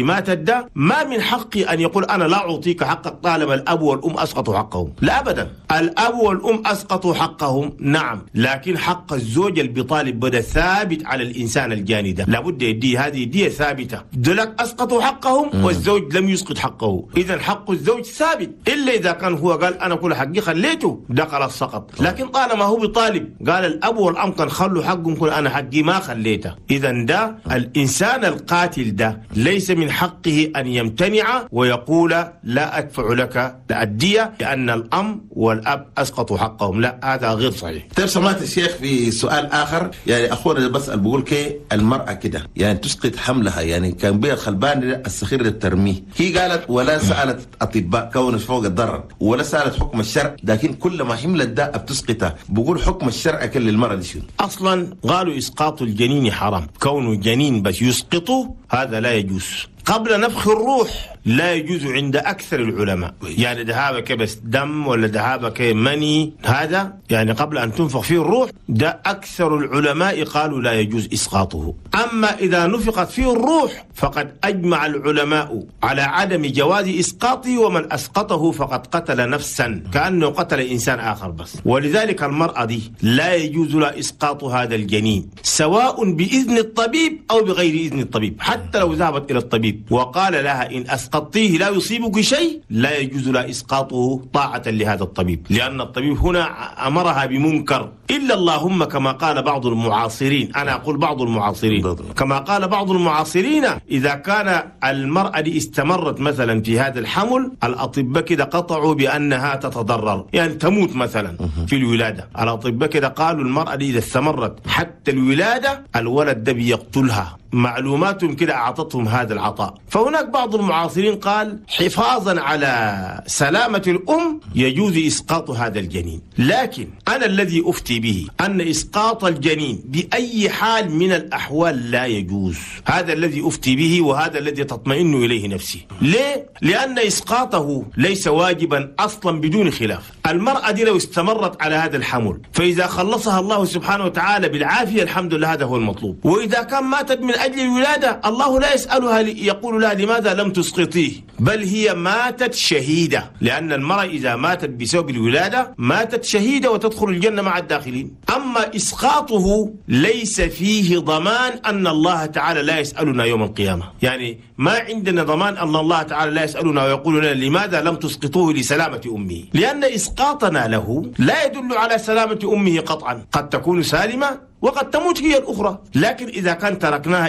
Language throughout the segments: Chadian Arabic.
ماتت ده ما من حقي أن يقول أنا لا أعطيك حقك طالما الأب والأم أسقطوا حقهم. لا أبدا، الأب والأم أسقطوا حقهم نعم، لكن حق الزوج اللي بيطالب بدا ثابت على الإنسان الجاني ده، لابد يديه هذه دية ثابتة. دولك أسقطوا حقهم والزوج لم يسقط حقه، إذا حق الزوج ثابت، إلا إذا كان هو قال أنا كل حقي خليته ده خلاص سقط. لكن طالما هو بيطالب قال الأب والأم كان خلوا حقهم، كل أنا حقي ما خليته، إذا ده الإنسان القاتل ده ليس من حقه أن يمتنع ويقول لا أدفع لك الدية لأن الأم والأب أسقطوا حقهم، لا هذا غير صحيح. طيب سمعت الشيخ في سؤال آخر، يعني أخونا اللي بسأل بقول كي المرأة كده يعني تسقط حملها، يعني كان بيها الخلبان الصخير اللي ترميه، هي قالت ولا سألت أطباء كون فوق الضرر ولا سألت حكم الشرع، لكن كل ما حملت ده بتسقطها، بقول حكم الشرع كل للمرأة دي شنو؟ أصلا قالوا إسقاط الجنين حرام، كونه جنين بس يسقطه هذا لا يجوز. قبل نفخ الروح لا يجوز عند أكثر العلماء، يعني ذهابك بس دم ولا ذهابك مني، هذا يعني قبل أن تنفخ فيه الروح ده أكثر العلماء قالوا لا يجوز إسقاطه. أما إذا نفخت فيه الروح فقد أجمع العلماء على عدم جواز إسقاطه، ومن أسقطه فقد قتل نفسا كأنه قتل إنسان آخر بس. ولذلك المرأة دي لا يجوز لها إسقاط هذا الجنين سواء بإذن الطبيب أو بغير إذن الطبيب، حتى لو ذهبت إلى الطبيب وقال لها إن أسقطتيه لا يصيبك شيء، لا يجوز لها إسقاطه طاعة لهذا الطبيب، لأن الطبيب هنا أمرها بمنكر. إلا اللهم كما قال بعض المعاصرين، أنا أقول بعض المعاصرين، كما قال بعض المعاصرين إذا كان المرأة دي استمرت مثلا في هذا الحمل، الأطباء كده قطعوا بأنها تتضرر، يعني تموت مثلا في الولادة. الأطباء كده قالوا المرأة دي إذا استمرت حتى الولادة الولد ده بيقتلها، معلوماتهم كده أعطتهم هذا العطاء. فهناك بعض المعاصرين قال حفاظا على سلامة الأم يجوز إسقاط هذا الجنين، لكن أنا الذي أفتي به أن إسقاط الجنين بأي حال من الأحوال لا يجوز، هذا الذي أفتي به وهذا الذي تطمئن إليه نفسي. ليه؟ لأن إسقاطه ليس واجبا أصلا بدون خلاف. المرأة دي لو استمرت على هذا الحمل فإذا خلصها الله سبحانه وتعالى بالعافية الحمد لله هذا هو المطلوب، وإذا كان ماتت من أجل الولادة الله لا يسألها يقول لها لماذا لم تسقطيه، بل هي ماتت شهيدة، لأن المرأة إذا ماتت بسبب الولادة ماتت شهيدة وتدخل الجنة مع الداخلين. أما إسقاطه ليس فيه ضمان أن الله تعالى لا يسألنا يوم القيامة، يعني ما عندنا ضمان أن الله تعالى لا يسألنا ويقول لنا لماذا لم تسقطوه لسلامة أمه، لأن إسقاطنا له لا يدل على سلامة أمه قطعا، قد تكون سالمة وقد تموت هي الأخرى. لكن إذا كان تركناها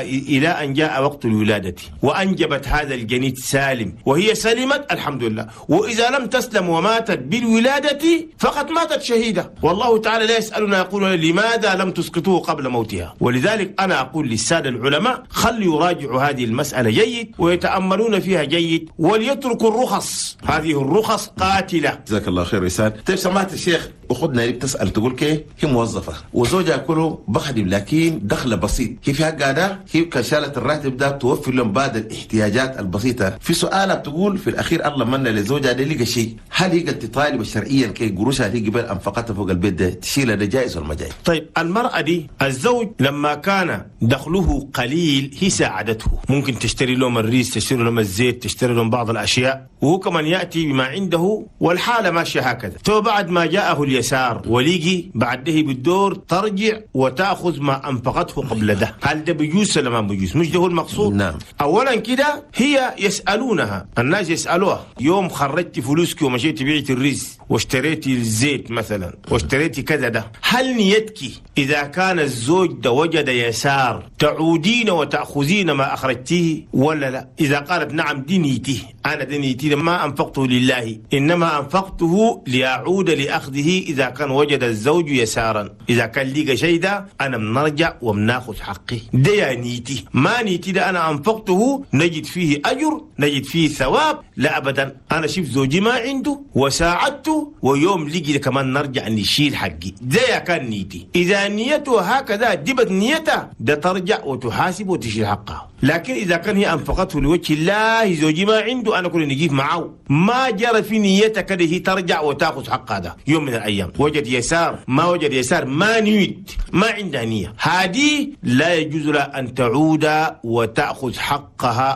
إلى أن جاء وقت الولادة وأنجبت هذا الجنين سالم وهي سلمت الحمد لله، وإذا لم تسلم وماتت بالولادة فقد ماتت شهيدة، والله تعالى لا يسألنا يقول لماذا لم تسقطوه قبل موتها. ولذلك أنا أقول للسادة العلماء خلوا يراجعوا هذه المسألة جيد ويتأملون فيها جيد وليتركوا الرخص، هذه الرخص قاتلة. جزاك الله خير رسال. طيب سمعت الشيخ أخذنا اللي بتسأل تقول كي هي موظفة وزوجها كله بخدم لكن دخله بسيط، هي في حقها ده هي كشالة الراتب ده توفر لهم بعض الاحتياجات البسيطة. في سؤالها بتقول في الأخير الله من لزوجها ده لقى شيء، هل هي قد تطالب شرعيا كي قروشها هي قبل أنفقتها فوق البيت ده تشيلها ده جائز ولا ما جائز؟ طيب المرأة دي الزوج لما كان دخله قليل هي ساعدته، ممكن تشتري لهم الريس، تشتري لهم الزيت، تشتري لهم بعض الأشياء، وهو كمان يأتي بما عنده والحالة ماشية هكذا. تو بعد ما جاءه اليسار وليجي بعده بالدور ترجع وتأخذ ما أنفقته قبل ده، هل ده بيجوز ولا ما بيجوز؟ مش ده هو المقصود. نعم. أولا كده هي يسألونها، الناس يسألوها يوم خرجت فلوسك ومشيت بعت الرز واشتريتي الزيت مثلا واشتريتي كذا ده، هل نيتك إذا كان الزوج ده وجد يسار تعودين وتأخذين ما أخرجتيه ولا لا؟ إذا قالت نعم دي نيتي، أنا دي نيتي ما أنفقته لله إنما أنفقته لأعود لأخذه إذا كان وجد الزوج يسارا، إذا كان لقى شيء ده أنا بنرجع وبناخذ حقي، ده يا نيتي. ما نيتي ده أنا أنفقته نجد فيه أجر نجد فيه ثواب، لا أبدا أنا شفت زوجي ما عنده وساعدته ويوم لقي كمان نرجع نشيل حقي، ده يا كان نيتي. إذا نيته هكذا دبت نيته ده ترجع وتحاسب وتشيل حقها. لكن إذا كان هي أنفقته لوجه الله زوجي ما عنده أنا كل نجيب معه، ما جرى في نيتك كده هي ترجع وتأخذ حقها ده يوم من الأيام. وجد يسار ما وجد يسار ما نيت ما عندها نية، هذه لا يجوز لها أن تعود وتأخذ حقها.